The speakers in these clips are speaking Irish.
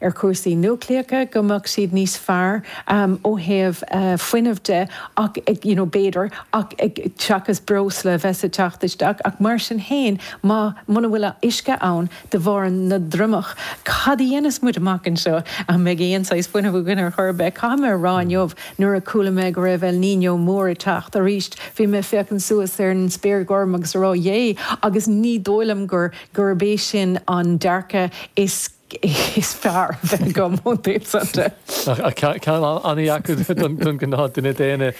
ar chúrsaí núicléacha, go mbeadh siad níos fearr ó thaobh fuinnimh de ach, you know, b'fhéidir, ach seachas breosla a bheith ag teacht isteach. Ach mar sin féin, má, muna bhfuil uisce ann de bharr na dtriomach, cad a dhéanfas muid amach anseo? An mbeidh aon saghas fuinnimh againn ar chor ar bith? Caithfidh mé a rá inniu, nuair a chuala mé go raibh El Niño mór ag teacht arís, bhí mé ag féachaint suas ar an spéir ghorm agus ag rá, yé! Agus ní dóigh liom gur, gurb é sin an dearcadh is is fearr a bheith agam ón taobh san de. Ach ceann an-dheacair don ghnáth-duine daonna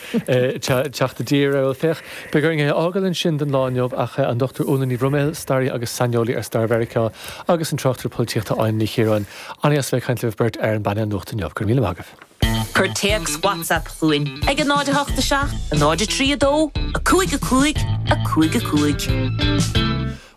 teacht i dtír air. Bhuel, féach, beidh orainn é a fhágáil ansin don lá inniu ach an Dr Úna Ní Bhroiméil, staraí agus saineolaí ar stair Mheiriceá, agus an tráchtaire polaitíochta Áine Ní Chiaráin. An-dheas a bheith ag caint libh beirt ar an bpainéal nuachta inniu. Go raibh míle maith agaibh. Cuir téacs WhatsApp chugainn ag 0 8 7 0 3 2 5 5 5 5.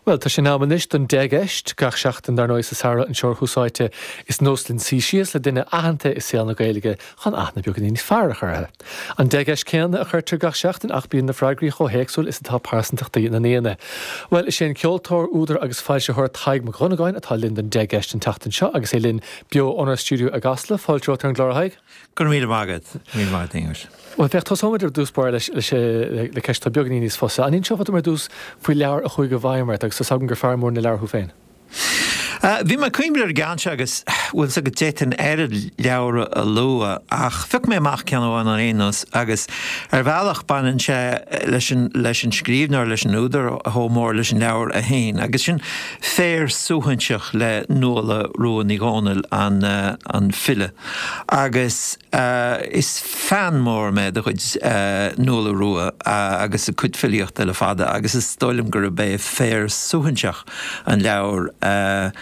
Bhuel, tá sé in am anois don Deich gCeist. Gach seachtain, dar ndóigh, sa samhradh anseo ar Thús Áite, is nós linn suí síos le duine aitheanta i saol na Gaeilge chun aithne beagáinín níos fearr a chur orthu. An 10 gceist céanna a chuirtear gach seachtain ach bíonn na freagraí chomh héagsúil is atá pearsantachtaí na n-aíonna. Bhuel, is é an ceoltóir, údar agus foilsitheoir Tadhg Mac Dhonnagáin atá linn don 10 gceist an tseachtain seo agus é linn beo ónár stiúideo i gCasla. Fáilte romhat ar an gclár, a Thaidhg. Go raibh míle maith agat. Míle maith agat, Aonghus. Bhuel, féach, tosóimid ar dtús báire leis, leis, le ceist atá beagáinín níos fusa. An inseofá dom ar dtús faoi leabhar a chuaigh i bhfeidhm ort, agus tá's agam gur fear mór na leabhar thú féin? Bhí mé ag cuimhneamh ar an gceann seo agus, bhfuil 's agat, d'fhéadfainn oiread leabhar a lua ach phioc mé amach ceann amháin ar aon nós agus ar bhealach baineann sé leis an, leis an scríbhneoir, leis an údar chomh mór leis an leabhar é féin agus sin Féar Suaithinseach le Nuala Rua Ní Dhomhnaill, an, an file. Agus is fan mór mé de chuid Nuala Rua agus a cuid filíochta le fada agus is dóigh liom gurb é Féar Suaithinseach an leabhar a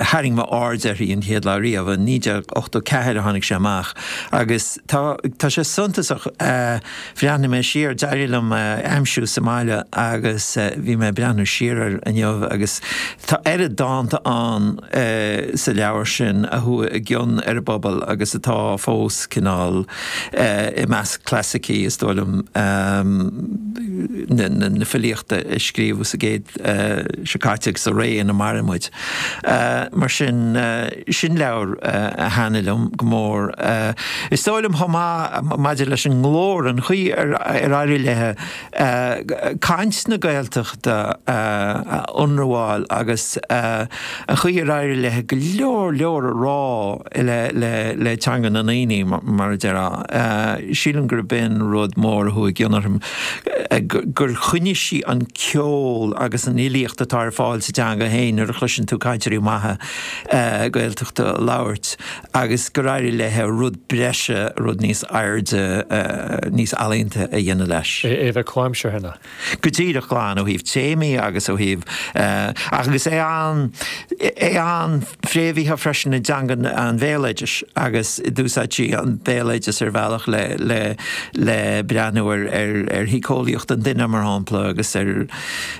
tharraing m'aird uirthi an chéad lá riamh. I 1984 a tháinig sé amach agus tá tá sé suntasach. Bhreathnaigh mé siar, d'éirigh liom é a aimsiú sa mbaile agus bhí mé ag breathnú siar air inniu agus tá oiread dánta ann sa leabhar sin a chuaigh i gcion ar an bpobal agus atá fós cineál i measc clasaicí, is dóigh liom, na filíochta a scríobhadh sa gcéad seo caite agus sa ré ina maireann muid. Mar sin, sin leabhar a thaitnigh liom go mór. Is dóigh liom chomh maith maidir leis an nglór, an chaoi ar éirigh léi caint na Gaeltachta a ionramháil agus an chaoi ar éirigh léi go leor leor a rá le teanga na ndaoine, mar a déarfá. Sílim gurb in rud mór a chuaigh i gcion orm, gur choinnigh sí an ceol agus an fhilíocht atá ar fáil sa teanga féin nuair a chloiseann tú cainteoirí maithe Gaeltachta ag labhairt agus gur éirigh léi rud breise, rud níos airde, níos ealaíonta a dhéanamh leis. É a bheith comhaimseartha, ná? Go díreach glan ó thaobh téamaí agus ó thaobh, agus é an, é an-fhréamhaithe freisin i dteanga an bhéaloidis agus d'úsáid sí an béaloideas ar bhealach le, le, le breathnú ar, ar, ar shíceolaíocht an duine mar shampla agus ar,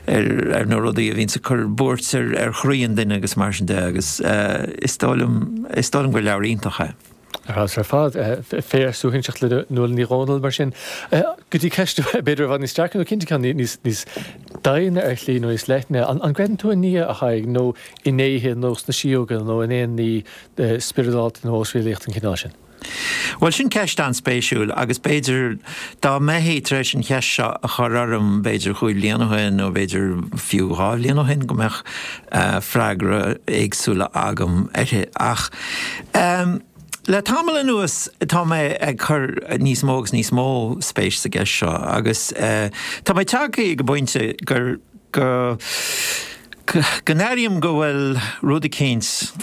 ar, ar na rudaí a bhíonns ag cur buairt ar, ar chroí an duine agus mar sin de agus is dóigh liom, is dóigh liom gur leabhar iontach é. Ar fheabhas ar fad. Féar Suaithinseach le Nuala Ní Dhomhnaill, mar sin. Go dtí ceist b'fhéidir i bhfad níos deacra nó cinnte ceann níos doimhne ar shlí nó níos leithne. An gcreideann tú i nDia, a Thaidhg, nó i ndéithe nó sna síóga nó in aon ní spioradálta nó osréalaíoch den chineál sin? Bhuel, sin ceist an-spéisiúil agus b'fhéidir dá mbeifí tar éis an cheist seo a chur orm b'fhéidir chúig bhliain ó shin nó b'fhéidir fiú dhá bhliain ó shin go mbeadh freagra éagsúla agam uirthi. Ach le tamall anuas tá mé ag cur níos mó agus níos mó spéis sa gceist seo agus tá mé tagtha ag an bpointe gur, go, go n-airím go bhfuil rud eicínt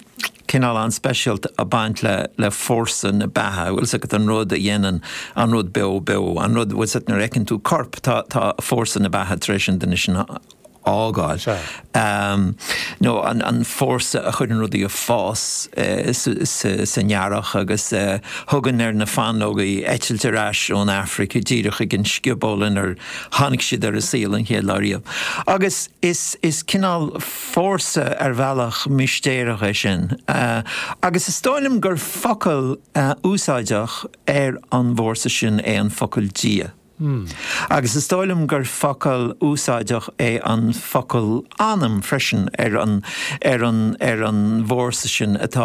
cineál an-speisialta ag baint le, le fórsa na beatha, bhfuil 's agat, an rud a dhéanann an rud beo beo, an rud, bhfuil 's agat, nuair a fheiceann tú corp, tá, tá fórsa na beatha tar éis an duine sin a fhágáil. Nó an fórsa a chuireann rudaí ag fás san earrach agus a thugann ar na fáinleogaí eitilt ar ais ón Afraic díreach chuig an scioból inar tháinig siad ar an saol an chéad lá riamh. Agus is cineál fórsa ar bhealach mistéireach é sin. Agus is dóigh liom gur focal úsáideach ar an bhfórsa sin é an focal Dia. Agus is dóigh liom gur focal úsáideach é an focal anam freisin ar an, ar an, ar an bhfórsa sin atá.